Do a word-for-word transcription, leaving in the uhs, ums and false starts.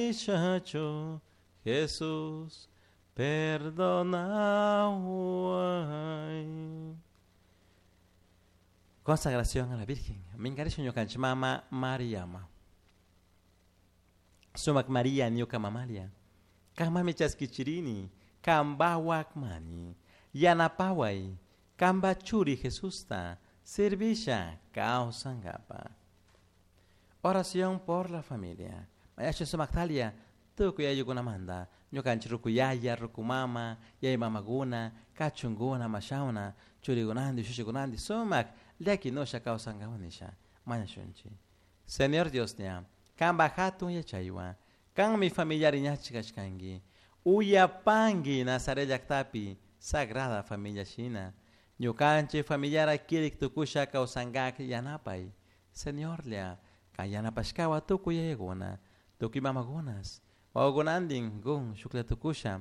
Nishachu Jesús perdonahuay. Consagración a la Virgen. Minkarisha ñukanchik mama Mariama. Sumak María ñuka mamalia. Kanmami chaskichirini. Kambawakmani. Yanapaway. Kamba churi Jesusta. Servisha kawsankapa. Oración por la familia. Mañasha sumaktalia. Tukuy ayllukunamanta. Ñukanchik rukuyaya, rukumama, yaya mamaguna, kachunguna, mashawna, churikunanti, shushikunanti, sumak llakinusha kawsankapak nisha. Mañashunchik. Señor Dios ña, kanpa hatun yachaywan, kanmi familiari ñachik kashkanki. Uyapanki Nazaret llaktapi Sagrada Familia shina. Ñukanchik familiara kirik tukusha kawsankak yanapay. Señorlla, kan yanapashkawa tukuy yayakuna, tukuy mamakunas, wawakunantin kun shuklla tukusha